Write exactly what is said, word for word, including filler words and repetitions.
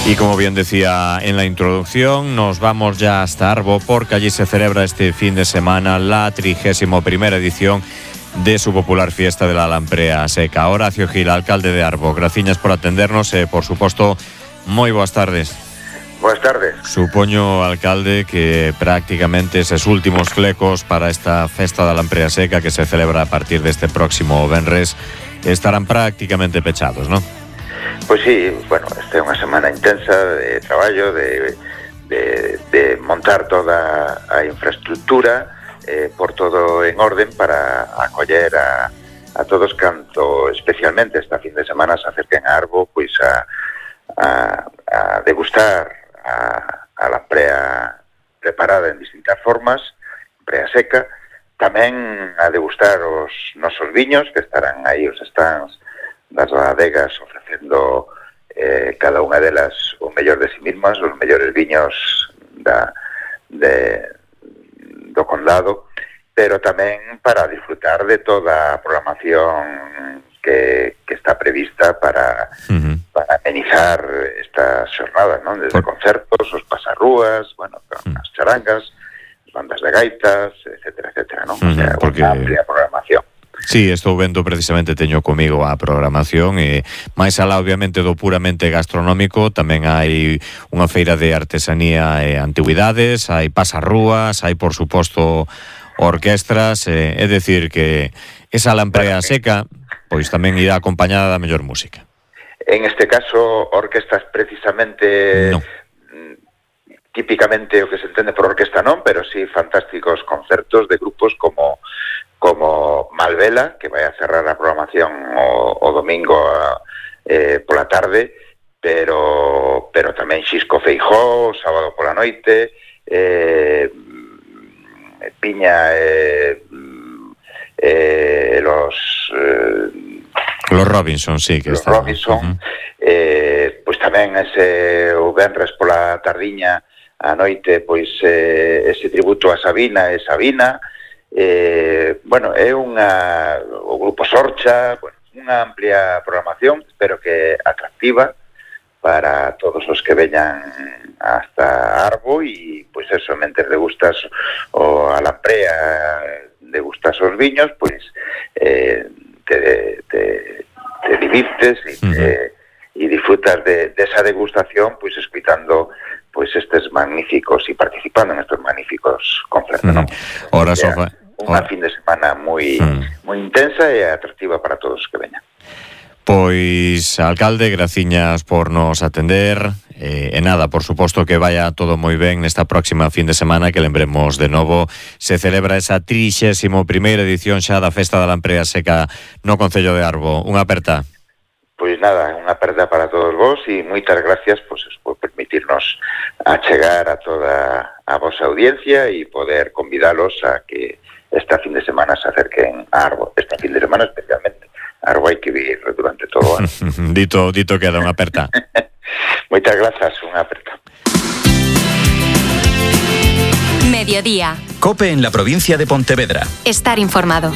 Y como bien decía en la introducción, nos vamos ya hasta Arbo porque allí se celebra este fin de semana la trigésima primera edición de su popular fiesta de la Lamprea Seca. Horacio Gil, alcalde de Arbo, graciñas por atendernos e, por suposto, moi boas tardes. Boas tardes. Supoño, alcalde, que prácticamente eses últimos flecos para esta festa da Lamprea Seca que se celebra a partir deste próximo venres estarán prácticamente pechados, non? Pois sí, bueno, esta é unha semana intensa de traballo, de, de, de montar toda a infraestructura, eh, por todo en orden para acoller a, a todos canto, especialmente esta fin de semana se acerquen a Arbo, pois a, a, a degustar a, a lamprea preparada en distintas formas, lamprea seca, tamén a degustar os nosos viños, que estarán aí os stands das bodegas ofrecendo eh, cada unha delas o mellor de si mismas, os mellores viños da, de, do condado, pero tamén para disfrutar de toda a programación que, que está prevista para, uh-huh. para amenizar estas xornadas, non? Desde Por... concertos, os pasarrúas, bueno, uh-huh. as charangas, as bandas de gaitas, etcétera, etcétera, non? Uh-huh, o sea, porque... unha amplia programación. Sí, estou vendo precisamente, teño comigo a programación e máis alá obviamente do puramente gastronómico tamén hai unha feira de artesanía e antigüidades, hai pasarrúas, hai por suposto orquestras, eh, é dicir que esa lamprea seca pois tamén irá acompañada da mellor música. En este caso, orquestas precisamente no. típicamente o que se entende por orquesta non, pero sí fantásticos concertos de grupos como como Malvela, que vai a cerrar a programación o, o domingo a, eh, pola tarde, pero pero tamén Xisco Feijó, sábado pola noite, eh, Piña, eh, eh, los... Eh, los Robinson, sí, que los está. Robinson, uh-huh. eh, pois tamén ese o venres pola tardiña a noite, pois eh, ese tributo a Sabina e Sabina. Eh, bueno, é unha o grupo Sorcha, bueno, unha amplia programación, espero que atractiva para todos os que veñan hasta Arbo e, pois eso, mentre degustas o a lamprea, degustas os viños, pois eh, te, te, te divirtes e te, uh-huh. disfrutas de, de esa degustación, pois escuitando pois estes magníficos e participando en estes magníficos concertos, uh-huh. non? Ora, Sofa, unha fin de semana moi mm. moi intensa e atractiva para todos os que veñan. Pois, alcalde, graciñas por nos atender eh, e nada, por suposto que vaya todo moi ben nesta próxima fin de semana que lembremos de novo se celebra esa trixésima primeira edición xa da Festa da Lamprea Seca no Concello de Arbo. Unha aperta. Pois nada, unha aperta para todos vos e moitas gracias pois, por permitirnos achegar a toda a vosa audiencia e poder convidalos a que esta fin de semana se acerquen a Arbo. Esta fin de semana especialmente. Arbo hai que vir durante todo o ano. dito, dito queda unha aperta. Moitas grazas, unha aperta. Mediodía. COPE en la provincia de Pontevedra. Estar informado.